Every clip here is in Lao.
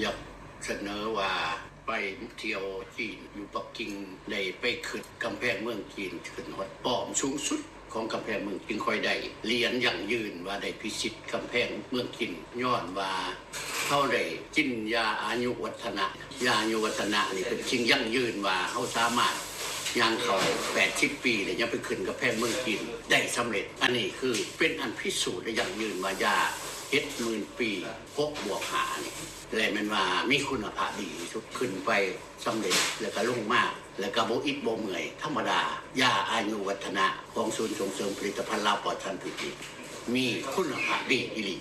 ຢາກສະເໜີວ່າໄປທ່ຽວຈີນຢູ່ປັກກິ່ງ ໄດ້ໄປຂຶ້ນກຳແພງເມືອງຈີນ ຂຶ້ນຮອດປ້ອມສູງສຸດຂອງກຳແພງເມືອງຈີນ ຂ້ອຍໄດ້ຫຼຽນຢັ້ງຢືນວ່າໄດ້ພິຊິດກຳແພງເມືອງຈີນ ຍ້ອນວ່າເຮົາໄດ້ກິນຢາອາຍຸວັດທະນະ. ຢາອາຍຸວັດທະນະນີ້ເປັນສິ່ງຢັ້ງຢືນວ່າເຮົາສາມາດຍ່າງເຂົ້າແປດສິບປີ ແລ້ວຍັງໄປຂຶ້ນກຳແພງເມືອງຈີນໄດ້ສຳເລັດ. ອັນນີ້ຄືເປັນອັນພິສູດ ແລະ ຢັ້ງຢືນວ່າຢາເຈັດໝື່ນປີ ຫົກບວກຫ້ານີ້ ແລະ ແມ່ນວ່າມີຄຸນນະພາບດີທີ່ສຸດ ຂຶ້ນໄປສຳເລັດ ແລ້ວກໍລົງມາ ແລ້ວກໍບໍ່ອິດບໍ່ເມື່ອຍ ທຳມະດາ. ຢາອາຍຸວັດທະນະຂອງສູນສົ່ງເສີມຜະລິດຕະພັນລາວປອດສານພິດນີ້ ມີຄຸນນະພາບດີອີ່ຫຼີ.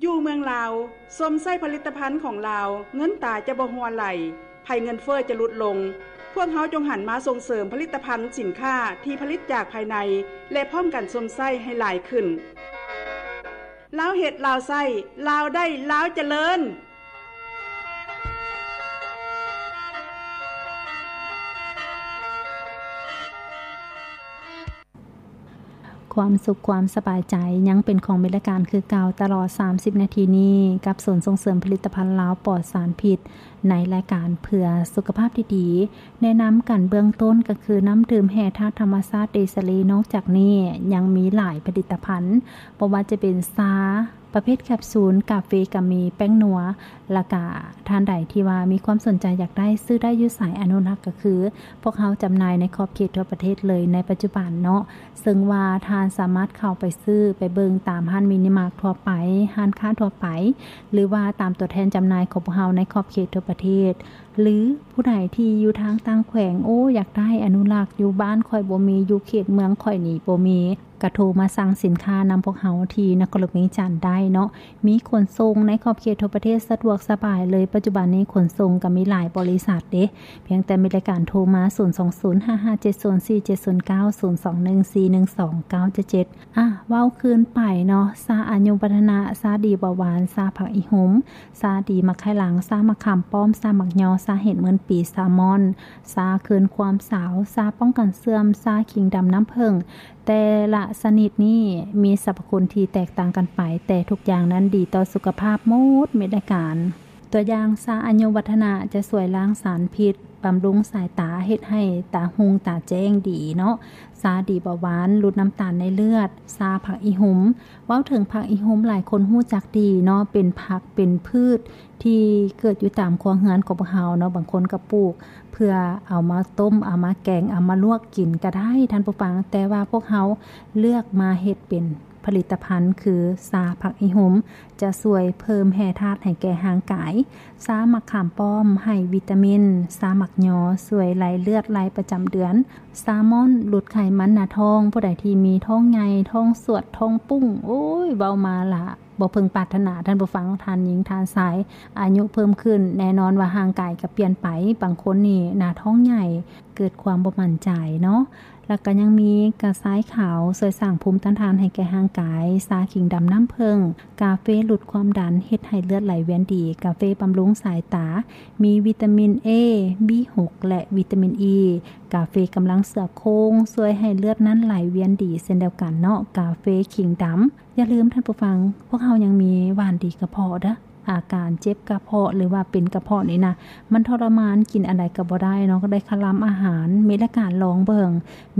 ຢູ່ເມືອງລາວ ຊົມໃຊ້ຜະລິດຕະພັນຂອງລາວ ເງິນຕາຈະບໍ່ຮົ່ວໄຫຼ, ໄພເງິນເຟີ້ຈະຫຼຸດລົງ. ພວກເຮົາຈົ່ງຫັນມາສົ່ງເສີມຜະລິດຕະພັນສິນຄ້າທີ່ຜະລິດຈາກພາຍໃນ ແລະ ພ້ອມກັນຊົມໃຊ້ໃຫ້ຫຼາຍຂຶ້ນ. ລາວເຮັດ ລາວໃຊ້, ລາວໄດ້ ລາວຈະເລີນ. ຄວາມສຸກຄວາມສະບາຍໃຈຍັງເປັນຂອງເມລະການຄືເກົ່າຕະຫຼອດສາມສິບນາທີນີ້ ກັບສູນສົ່ງເສີມຜະລິດຕະພັນລາວປອດສານພິດ ໃນລາຍການເພື່ອສຸຂະພາບທີ່ດີ. ແນະນຳກັນເບື້ອງຕົ້ນກໍຄື ນ້ຳດື່ມແຮ່ທາດທຳມະຊາດເດຊາລີ. ນອກຈາກນີ້ຍັງມີຫຼາຍຜະລິດຕະພັນ ບໍ່ວ່າຈະເປັນຊາ ປະເພດແຄບຊູນ, ກາເຟກໍມີ, ແປ້ງນົວ ແລ້ວກະທ່ານໃດທີ່ວ່າມີຄວາມສົນໃຈຢາກໄດ້ ຊື້ໄດ້ຢູ່ໃສ ອະນຸລັກ ກໍຄືພວກເຮົາຈຳໜ່າຍໃນຂອບເຂດທົ່ວປະເທດເລີຍໃນປັດຈຸບັນເນາະ. ເຊິ່ງວ່າທ່ານສາມາດເຂົ້າໄປຊື້ໄປເບິ່ງຕາມຮ້ານມິນິມາກທົ່ວໄປ, ຮ້ານຄ້າທົ່ວໄປ ຫຼືວ່າຕາມຕົວແທນຈຳໜ່າຍຂອງພວກເຮົາໃນຂອບເຂດທົ່ວປະເທດ ຫຼືຜູ້ໃດທີ່ຢູ່ທາງຕ່າງແຂວງ, ໂອ້ ຢາກໄດ້ ອະນຸລັກ ຢູ່ບ້ານຂ້ອຍບໍ່ມີ, ຢູ່ເຂດເມືອງຂ້ອຍນີ້ບໍ່ມີ. ກະໂທມາສັ່ງສິນຄ້ານຳພວກເຮົາທີ່ນະຄອນຫຼວງວຽງຈັນໄດ້ເນາະ. ມີຂົນສົ່ງໃນຂອບເຂດທົ່ວປະເທດສະດວກສະບາຍເລີຍ. ປັດຈຸບັນນີ້ຂົນສົ່ງກໍມີຫຼາຍບໍລິສັດເດ້. ພຽງແຕ່ແມ່ນລາຍການໂທມາ ສູນສອງສູນ ຫ້າຫ້າເຈັດສູນ ສີ່ເຈັດສູນເກົ້າ ສູນສອງໜຶ່ງ ສີ່ໜຶ່ງສອງ ເກົ້າເຈັດເຈັດ. ອາ ເວົ້າຄືນໄປເນາະ, ຊາອາຍຸວັດທະນະ, ຊາດີເບົາຫວານ, ຊາຜັກອີ່ຫຸມ, ຊາດີໝາກໄຂ່ຫຼັງ, ຊາໝາກຂາມປ້ອມ, ຊາໝາກຍໍ, ຊາເຫັດໝື່ນປີ, ຊາມອນ, ຊາຄືນຄວາມສາວ, ຊາປ້ອງກັນເສື່ອມ, ຊາຂີງດຳນ້ຳເຜິ້ງ, ແຕ່ລະຊະນິດນີ້ມີສັບພະຄຸນທີ່ແຕກຕ່າງກັນໄປ, ແຕ່ທຸກຢ່າງນັ້ນດີຕໍ່ສຸຂະພາບໝົດເມດລາຍການ. ຕົວຢ່າງ ຊາອາຍຸວັດທະນະຈະຊ່ວຍລ້າງສານພິດ, ບຳລຸງສາຍຕາ, ເຮັດໃຫ້ຕາຮຸ່ງຕາແຈ້ງດີເນາະ. ຊາດີເບົາຫວານ, ຫຼຸດນ້ຳຕານໃນເລືອດ. ຊາຜັກອີ່ຫຸມ, ເວົ້າເຖິງຜັກອີ່ຫຸມຫຼາຍຄົນຮູ້ຈັກດີເນາະ, ເປັນຜັກເປັນພືດ ທີ່ເກີດຢູ່ຕາມຄົວເຮືອນຂອງພວກເຮົາເນາະ, ບາງຄົນກໍປູກເພື່ອເອົາມາຕົ້ມ, ເອົາມາແກງ, ເອົາມາລວກກິນກໍໄດ້ທ່ານຜູ້ຟັງ, ແຕ່ວ່າພວກເຮົາເລືອກມາເຮັດເປັນຜະລິດຕະພັນ ຄືຊາຜັກອີ່ຫຸມ ຈະຊ່ວຍເພີ່ມແຮ່ທາດໃຫ້ແກ່ຮ່າງກາຍ, ຊາໝາກຂາມປ້ອມໃຫ້ວິຕາມິນ, ຊາໝາກຍໍຊ່ວຍໄລ່ເລືອດໄລ່ປະຈຳເດືອນ, ຊາມອນຫຼຸດໄຂມັນໜ້າທ້ອງ, ຜູ້ໃດທີ່ມີທ້ອງໃຫຍ່, ທ້ອງສວດ, ທ້ອງປຸ້ງ, ໂອ້ຍ ເວົ້າມາລະ ບໍ່ເພິ່ງປາດຖະໜາທ່ານຜູ້ຟັງ, ທ່ານຍິງທ່ານຊາຍ ອາຍຸເພີ່ມຂຶ້ນ ແນ່ນອນວ່າຮ່າງກາຍກໍປ່ຽນໄປ, ບາງຄົນນີ້ໜ້າທ້ອງໃຫຍ່ ເກີດຄວາມບໍ່ໝັ້ນໃຈເນາະ. ແລ້ວກໍຍັງມີກະຊາຍຂາວ ຊ່ວຍສ້າງພູມຕ້ານທານໃຫ້ແກ່ຮ່າງກາຍ, ຊາຂີງດຳນ້ຳເຜິ້ງ, ກາເຟຫຼຸດຄວາມດັນ ເຮັດໃຫ້ເລືອດໄຫຼວຽນດີ, ກາເຟບຳລຸງສາຍຕາ, ມີວິຕາມິນເອ, ບີຫົກ ແລະ ວິຕາມິນອີ, ກາເຟກຳລັງເສືອໂຄ່ງ ຊ່ວຍໃຫ້ເລືອດນັ້ນໄຫຼວຽນດີເຊັ່ນດຽວກັນເນາະ, ກາເຟຂີງດຳ. ຢ່າລືມທ່ານຜູ້ຟັງ, ພວກເຮົາຍັງມີຫວ່ານດີກະເພາະເດີ້. ອາການເຈັບກະເພາະ ຫຼືວ່າເປັນກະເພາະນີ້ນະ ມັນທໍລະມານ, ກິນອັນໃດກໍບໍ່ໄດ້ເນາະ, ກໍໄດ້ຄະລຳອາຫານ. ມີລາຍການລອງເບິ່ງ,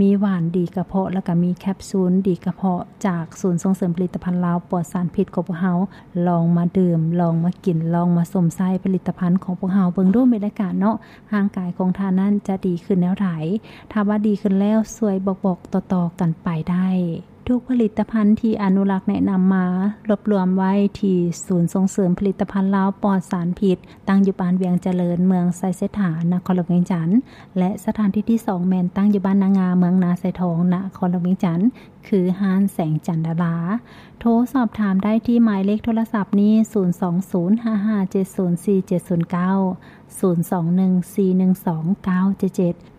ມີຫວ່ານດີກະເພາະ ແລ້ວກໍມີແຄບຊູນດີກະເພາະ ຈາກສູນສົ່ງເສີມຜະລິດຕະພັນລາວປອດສານພິດຂອງພວກເຮົາ. ລອງມາດື່ມ, ລອງມາກິນ, ລອງມາຊົມໃຊ້ຜະລິດຕະພັນຂອງພວກເຮົາເບິ່ງດູ ມີລາຍການເນາະ, ຮ່າງກາຍຂອງທ່ານນັ້ນຈະດີຂຶ້ນແນວໃດ? ຖ້າວ່າດີຂຶ້ນແລ້ວ, ຊ່ວຍບອກໆຕໍ່ໆກັນໄປໄດ້. ທຸກຜະລິດຕະພັນທີ່ອະນຸລັກແນະນຳມາ ລວບລວມໄວ້ທີ່ສູນສົ່ງເສີມຜະລິດຕະພັນລາວປອດສານພິດ, ຕັ້ງຢູ່ບ້ານວຽງຈະເລີນ, ເມືອງໄຊເສດຖາ, ນະຄອນຫຼວງວຽງຈັນ, ແລະ ສະຖານທີ່ທີສອງແມ່ນຕັ້ງຢູ່ບ້ານນາງາ, ເມືອງນາຊາຍທອງ, ນະຄອນຫຼວງວຽງຈັນ, ຄືຮ້ານແສງຈັນດາລາ. ໂທສອບຖາມໄດ້ທີ່ໝາຍເລກໂທລະສັບນີ້ ສູນສອງສູນ ຫ້າຫ້າເຈັດສູນ ສີ່ເຈັດສູນເກົ້າ,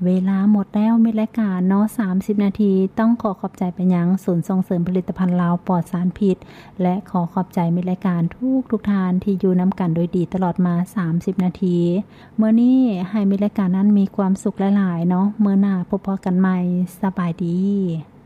ເວລາໝົດແລ້ວ ມິດລາຍການເນາະ ສາມສິບນາທີ ຕ້ອງຂໍຂອບໃຈໄປຍັງສູນສົ່ງເສີມຜະລິດຕະພັນລາວປອດສານພິດ ແລະ ຂໍຂອບໃຈມິດລາຍການທຸກໆທ່ານທີ່ຢູ່ນຳກັນໂດຍດີຕະຫຼອດມາສາມສິບນາທີ. ມື້ນີ້ໃຫ້ມິດລາຍການນັ້ນມີຄວາມສຸກຫຼາຍໆເນາະ. ມື້ໜ້າພົບພໍ້ກັນໃໝ່. ສະບາຍດີ.